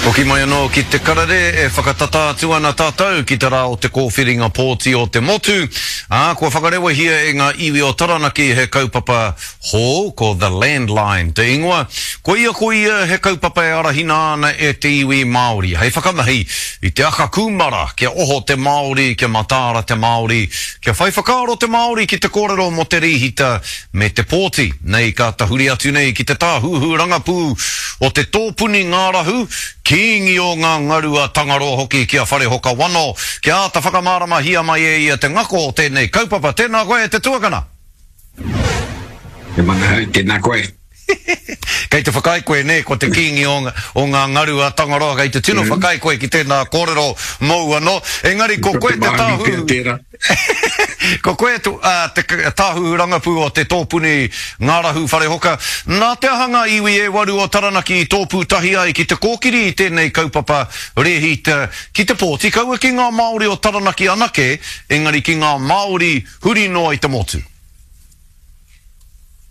Hoki mai anō ki te karere e whakatata atu ana tātou ki te rā o te kōwhiringa pōti o te motu, ā, kua whakarewahia e ngā iwi o Taranaki he kaupapa hou, ko The Landline te ingoa. Koia ko ia he kaupapa e arahina ana e te iwi Māori hei whakamahi i te aka kūmara kia oho te Māori, kia mataara te Māori, kia whai whakaaro te Māori ki te kōrero mō te rīhita me te pōti nei ka tahuri atu nei ki te tāhuhu rangapū o te tōpuni ngārahu, kīngi o ngā ngaru a Tangaroa hoki ki a Wharehoka Wano, kia āta whakamāramahia mai e ia te ngako o tēnei kaupapa. Tēnā koe e te tuakana! He manahau, tēnā koe. Kei te whakaae koe, nē, ko te kīngi o, o ngā ngaru a Tangaroa, kei te tino whakaae koe ki tēnā kōrero mōu anō. Engari ko koe te tāhuhu. Ko koe te, te tāhuhu rangapū o te tōpuni ngārahu Wharehoka. Nā te aha ngā iwi e waru o Taranaki i tōpū tahi ai ki te kōkiri i tēnei kaupapa rēhita ki te pōti, kaua ki ngā Māori o Taranaki anake, engari ki ngā Māori huri noa i te motu?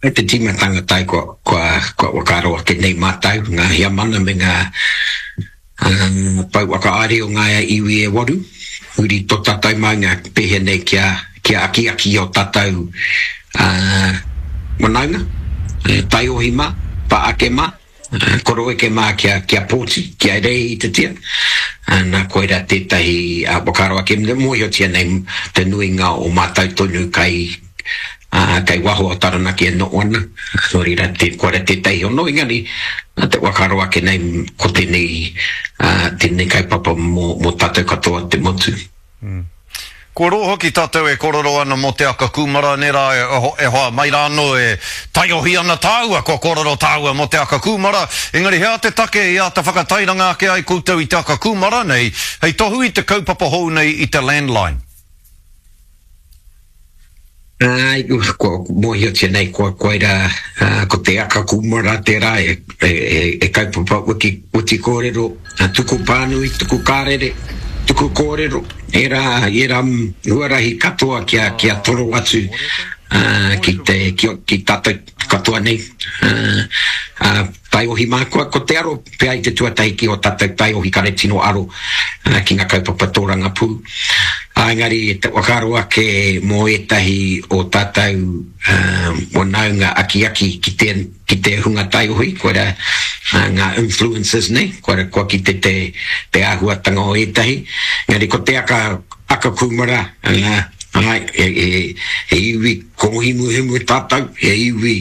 I te tīmatanga tae kua, kua, kua whakaaro ake nei mātou, ngā heamana me ngā pou whakahaere o ngā iwi e waru, huri tō tātou maunga pēhea nei kia, kia akiaki i ō tātou whanaunga, taiohi mā, pā ake mā. Koroeke mā kia, kia pōti, kia rēhitatia, nā koirā tētahi whakaaro ake, mōhiotia nei te nuinga o mātou tonu kai, kai waho o Taranaki e noho ana, nō reira te, koirā tētahi hono, engari te whakaaro ake nei ko tēnei, tēnei kaupapa mō, mō tātou katoa te motu. Kua roa hoki tātou e kōrero ana mō te aka kūmara, nē rā, e hoa, mai rā anō e taiohi ana tāua kua kōrero tāua mō te aka kūmara, engari he aha te take i āta whakatairanga ake ai koutou i te aka kūmara nei hei tohu i te kaupapa hou nei i te landline? Āe, kua mōhiotia nei kua koirā ko te aka kūmara tērā e kaupapa wiki witi kōrero, tuku pānui, tuku kārere, tuku kōrero, ērā, ērā huarahi katoa kia, kia toro atu ki te, ki, ki tātou katoa nei. Taiohi mā, kua, ko te aro pea i te tuatahi ki ō tātou taiohi kare tino aro ki ngā kaupapa tōrangapū. Ā, engari te whakaaro ake mō ētahi o tātou whanaunga akiaki ki te, ki te hunga taiohi, koirā ngā influencers nei, koirā kua kite te, te āhuatanga o ētahi. Engari ko te aka, aka kūmara, āe, he, he, he iwi Kōhimuhimu tātou, he iwi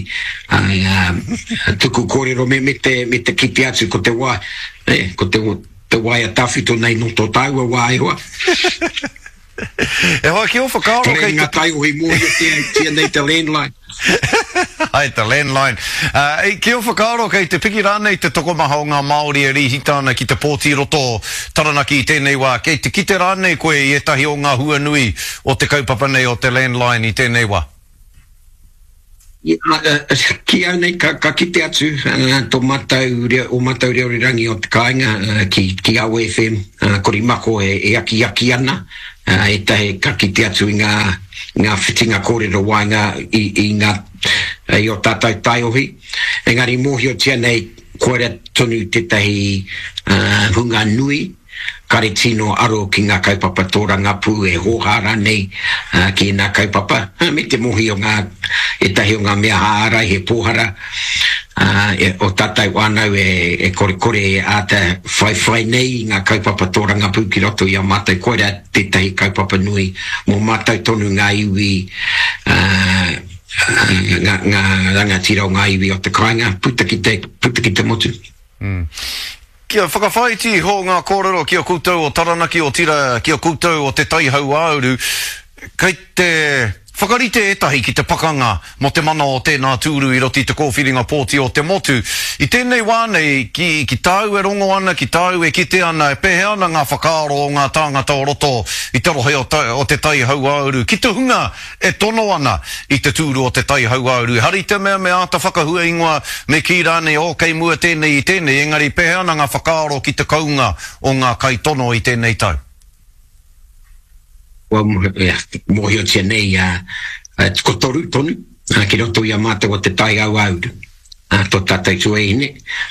tuku kōrero me, me, te, me te kite atu ko te wā, e, ko te, te waea tawhito nei nō tō tāua wā e hoa. E hoa, ki ō whakaaro kei te... Kore ngā taiohi mōhiotia nei te landline. Ai, te landline. Uh, ki ō whakaaro kei te piki rānei te tokomaha o ngā Māori e rīhita ana ki te pōti roto Taranaki i tēnei wā, kei te kite rānei koe i ētahi o ngā hua nui o te kaupapa nei o te landline i tēnei wā? Ki au nei, ka, ka kite atu tō mātou reo, ō mātou reo rerangi o te kāinga ki, ki Awa FM, Korimako e, e akiaki ana, ētahi ka kite atu i ngā, ngā whitinga kōrero waenga i, i ngā, i ō tātou taiohi. Engari mōhiotia nei koira tonu tētahi hunga nui, kare tino aro ki ngā kaupapa tōrangapū e hōhā rānei ki ēnā kaupapa, me te mohi o ngā, ētahi o ngā mea ārai he pōhara o tātou whānau e korekore e āta whaiwhai nei i ngā kaupapa tōrangapū ki roto i a mātou, koirā tētahi kaupapa nui mō mātou tonu ngā iwi, ngā rangatira o ngā iwi o te kāinga, puta ki te, puta ki te motu. Kia whakawhāiti iho ngā kōrero ki a koutou o Taranaki, otirā ki a koutou o Te Tai Hauāuru, kei te whakarite ētahi ki te pakanga mō te mana o tēnā tūru i roto i te kōwhiringa pōti o te motu. I tēnei wā nei, ki, ki tāu e rongo ana, ki tāu e kite ana, e pēhea ana ngā whakaaro o ngā tāngata o roto i te rohe o, o Te Tai Hauāuru, ki te hunga e tono ana i te tūru o Te Tai Hauāuru. Ehara i te mea me āta whakahua ingoa, me kī rānei, oh, kei mua tēnei i tēnei, engari pēhea ana ngā whakaaro ki te kounga o ngā kaitono i tēnei tau? Kua mōhiotia nei ko toru tonu ki roto i a mātou o Te Tai Hauāuru. Tō tātou tuahine,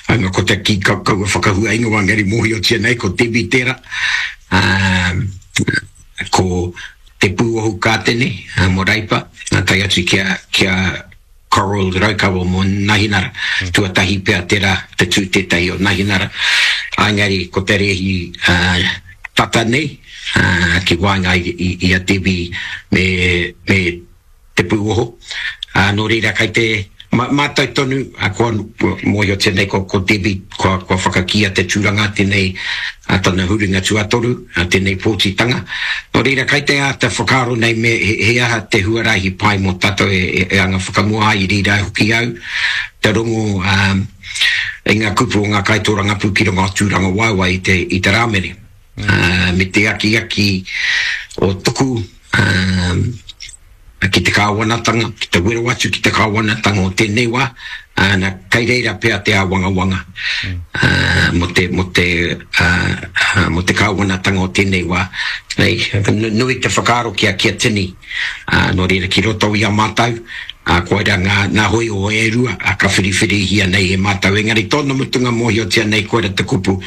haunga ko te kī kaua whakahua ingoa engari mōhiotia nei ko Debbie tērā, ko Te Pūohu Kātene mō Reipa, tae atu ki a, ki a Coral Raukawa mō Nahinara, tuatahi pea tērā te tū tētahi o Nahinara, engari ko te rēhi tata nei ki waenga i a Debbie me, me te pūoho, ā, nō reira kei te mātau tonu, ā, kua mōhiotia nei ko, ko Debbie, kua, kua whakakīia te tūranga tēnei, ā, tana huringa tuatoru, ā, tēnei pōtitanga. Nō reira kei te āta whakaaro nei me he, he aha te huarahi pai mō tātou e, e, e anga whakamua ai i reira hoki au te rongo, ā, i ngā kupu o ngā kaitōrangapū ki runga o Tūrangawaewae i te, i te Rāmere, ā, me te akiaki o tuku, ā, ki te kāwanatanga, ki te wero atu ki te kāwanatanga o tēnei wā, ā, na, kei reira pea te āwangawanga, ā, mō te, mō te, ā, mō te kāwanatanga o tēnei wā. Nei, nui te whakaaro ki a, ki a tini, ā, nō reira ki roto i a mātou, ā, koirā ngā, ngā hōiho e rua, ā, ka whiriwhirihia nei e mātou, engari tōna mutunga mōhiotia nei koira te kupu,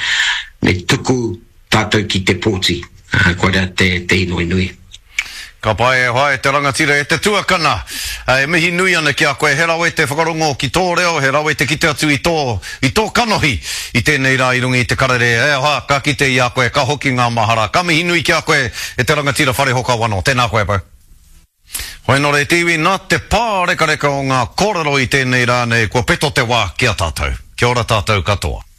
me tuku tātou ki te pōti, ā, koirā te, te inoi nui. Ka pai e hoa e te rangatira e te tuakana. E mihi nui ana ki a koe. He rawe te whakarongo ki tō reo, he rawe te kite atu i tō, i tō kanohi i tēnei rā i runga i te karere. E hoa, ka kite i a koe, ka hoki ngā mahara. Ka mihi nui ki a koe e te rangatira Wharehoka Wano. Tēnā koe bro. Hoenore te iwi, nā te pārekareka o ngā kōrero i tēnei rā nei kua peto te wā ki a tātou. Kia ora tātou katoa.